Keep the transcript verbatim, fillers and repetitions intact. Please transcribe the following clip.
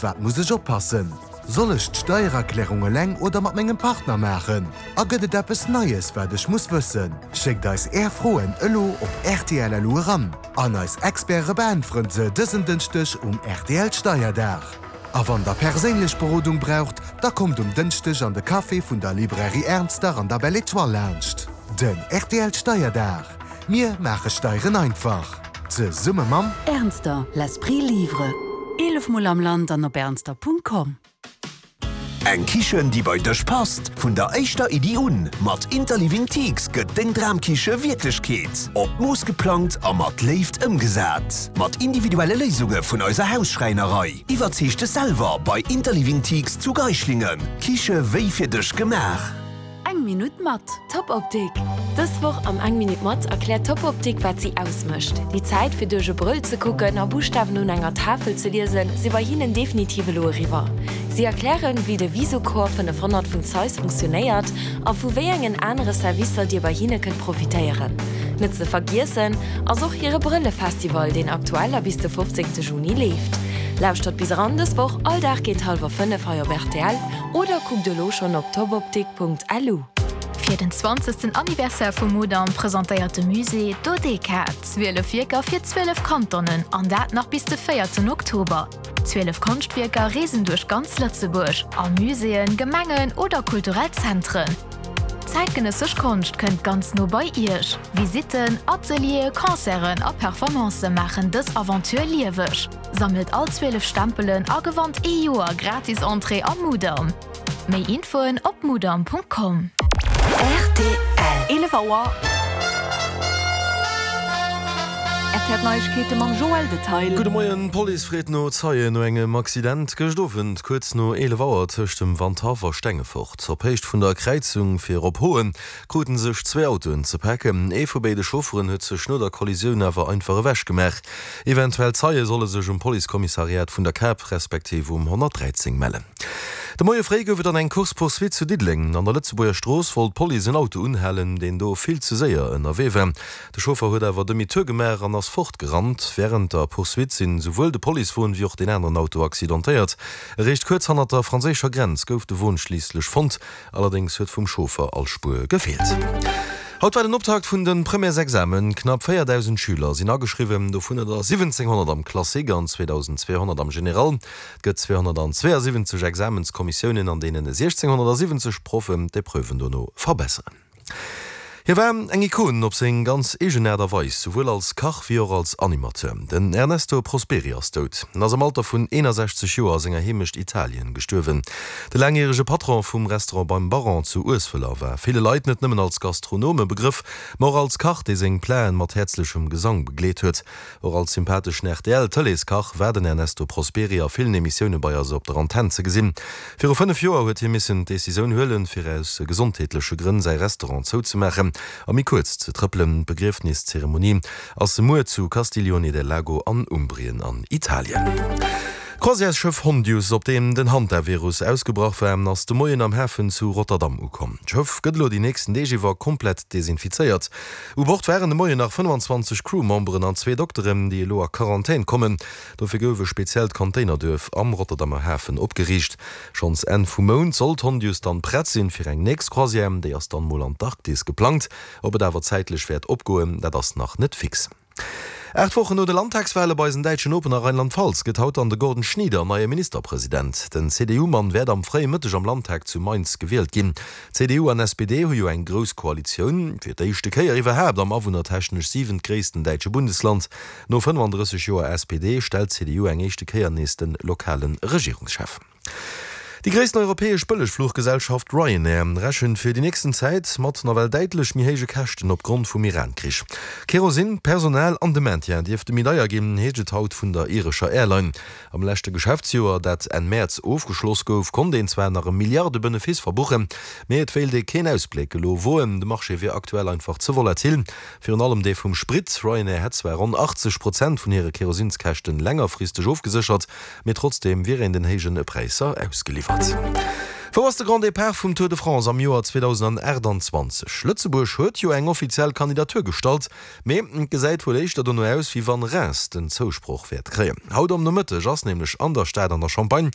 Wat muss ech oppassen? Soll ech d'Steiererklärung eleng oder mat mengem Partner maachen? A gëtt et eppes Neies, wat ech muss wëssen? Schéckt eis är Froen elo op rtl.lu eran. An eis Experte beäntweren se dësen Dënschdeg um R T L Steierdag. A wann der perséinlech Berodung braucht, da kommt um Dënschdeg an de Café vun der Librairie Ernster an der Belle Étoile laanscht. Den R T L Steierdag. Mir maache Steieren einfach. Zesumme mam Ernster, l'esprit livre. Eelef Mol am Land an op ernster Punkt com. Eng Kichen, déi bei dech passt, vun der éischter Iddi un. Mat Interliving Teaks gëtt deng Dramkiche Wierklechkeet. Op Mooss geplangt a mat Léift ëmgesat. Mat individuelle Léisunge vun eiser Hausschräinerei. Iwwerzeeg dech selwer bei Interliving Teaks zu Geislingen. Kiche wéi fir dech gemaach. Eng Minutt mat. Top Optik. Dës Woch am Eng Minutt mat erkläert Top Optik, wat si ausmécht. Déi Zäit fir duerch e Brëll ze kucken a Buschtawen un enger Tafel ze liesen, si bei hinnen definitiv elo eriwwer. Si erklären, wéi de Visocor fënnefhonnert vun Zeiss funktionéiert a vu wéi engen anere Servicer dir bei hinne kënnt profitéieren. Net ze vergiessen ass och hire Brëllefestival, deen aktuell a bis de fofzéngte Juni leeft. Lauschtert bis eran dës Woch all Dag géint hallwer fënnef hei op R T L oder kuckt elo schonn op topoptik Punkt L U. Fir den zwanzegsten Anniversaire vum Mudam presentéiert de Musée Dodeka zwielef Wierker fir zwielef Kantonen an dat nach bis de véierten Oktober. Zwielef Konschtwierker reesen duerch ganz Lëtzebuerg, a Muséeën, Gemengen oder kulturell Zentren. Zäitgenëssesch Konscht kënnt ganz no bei Iech. Visitten, Atelieren, Concerten a Performancë maachen dës Aventure lieweg. Sammelt all zwielef Stempelen a gewannt ee Joer gratis Entrée am Mudam. Méi Infoen op mudam Punkt com. R T L. eelef Auer. R T L Neiegkeete mam Joël Detail. Gudde Moien. D'Police freet no Zeien no engem Accident gëscht Owend kuerz no eelef Auer tëscht dem Wandhaff a Stengefort. Op Héicht vun der Kräizung fir op Hoen kruten sech zwee Autoen ze packen. Ee vu béide Chaufferen huet sech no der Kollisioun awer einfach ewech gemaach. Eventuell Zeie solle sech um Policekommissariat vun der Kap respektiv um honnertdräizéng mellen. De Moie fréi gouf et dann eng Course-poursuite zu Diddeleng. An der Lëtzebuerger Strooss wollt d'Police en Auto unhalen, deen do vill ze séier ënnerwee war. De Chauffer huet awer Demi-tour gemaach an ass fortgerannt. Wärend der Poursuite sinn souwuel de Policewon wéi och deen aneren Auto accidentéiert. Eréischt kuerz hannert der franséischer Grenz gouf de Won schliisslech fonnt. Allerdéngs huet vum Chauffer all Spuer gefeelt. Haut war den Optakt vun de Premièresexamen. Knapp véierdausend Schüler sinn ageschriwwen, dovunner der siwwenzénghonnert am Classique an zweedausendzweehonnert am Général. Et gëtt zweehonnertzweeasiwwenzeg Examenskommissiounen, an deenen siechzénghonnertsiwwenzeg Proffen d'Epreuven dono verbesseren. Hie war eng Ikon op seng ganz eegen Aart a Weis, souwuel als Kach wéi och als Animateur. Den Ernesto Prosperi ass dout. En ass am Alter vun eenasechzeg Joer a senger Heemecht Italien gestuerwen. De laangjärege Patron vum Restaurant Beim Baron zu Ueswëller war ville Leit net nëmmen als Gastronom e Begrëff, ma och als Kach, dee seng Platen mat häerzlechem Gesang begleet huet. Och als sympatheschen R T L-Tëleeskach war den Ernesto Prosperi a villen Emissioune bei eis op der Antenn ze gesinn. Viru fënnef Joer huet hie missen d'Decisioun huelen, fir aus gesondheetleche Grënn säi Restaurant zouzemaachen a méi kuerz ze trëppelen. D'Begriefniszeremonie ass muer zu Castiglione del Lago an Umbrien an Italien. D'Croisièresschëff Hondius, op deem den Hantavirus ausgebrach war, ass de Moien am Hafen zu Rotterdam ukomm. D'Schëff gëtt elo déi nächsten Deeg iwwer komplett desinfizéiert. U Bord waren de Moien nach fënnfanzwanzeg Crewmemberen an zwee Dokteren, déi elo a Quarantän kommen. Dofir gouf e speziellt Containerduerf am Rotterdamer Hafen opgeriicht. Schonns Enn vum Mount soll d'Hondius dann prett sinn fir eng nächst Croisière, déi ass dann mol an d'Arktis geplangt. Ob et awer zäitlech wäert opgoen, dat ass nach net fix. Aacht Wochen no de Landtagswale bei eisen däitschen Nopen a Rheinland-Pfalz gëtt haut dann de Gordon Schnieder neie Ministerpresident. Den C D U-Mann wäert am fréie Mëtteg am Landtag zu Mainz gewielt ginn. C D U an S P D hu jo eng grouss Koalitioun, fir d'éischte Kéier iwwerhaapt am awunnertechnesch siwentgréissten däitsche Bundesland. No fënnefandrësseg Joer S P D stellt d'C D U eng éischte Kéier nees de lokale Regierungschef. Déi gréissten europäesch Bëllegfluchgesellschaft Ryanair rechent fir déi nächsten Zäit mat nawell däitlech méi héije Käschten opgrond vum Iran-Krich. Kerosin, Personal an de Maintien dierfte méi deier ginn, heescht et haut vun der irescher Airline. Am leschte Geschäftsjoer, dat Enn Mäerz ofgeschloss gouf, konnt een zwar nach e Milliarde-Benefice verbuchen, mee et wéilt ee keen Ausbléck elo woen. De Marché wier aktuell einfach ze volatil, virun allem dee vum Sprit. Ryanair hätt zwar ronn achtzeg Prozent vun hire Kerosinskäschten längerfristeg ofgeséchert, mee trotzdeem wier een den héije Präisser ausgeliwwert. Wou ass de Grand Départ vum Tour de France am Joer zweedausendaachtanzwanzeg? Lëtzebuerg huet jo eng offiziell Kandidatur gestallt, mee et gesäit wuel éischter dono aus, wéi wann Reims den Zousproch wäert kréien. Haut am Nomëtteg ass nämlech an der Stad an der Champagne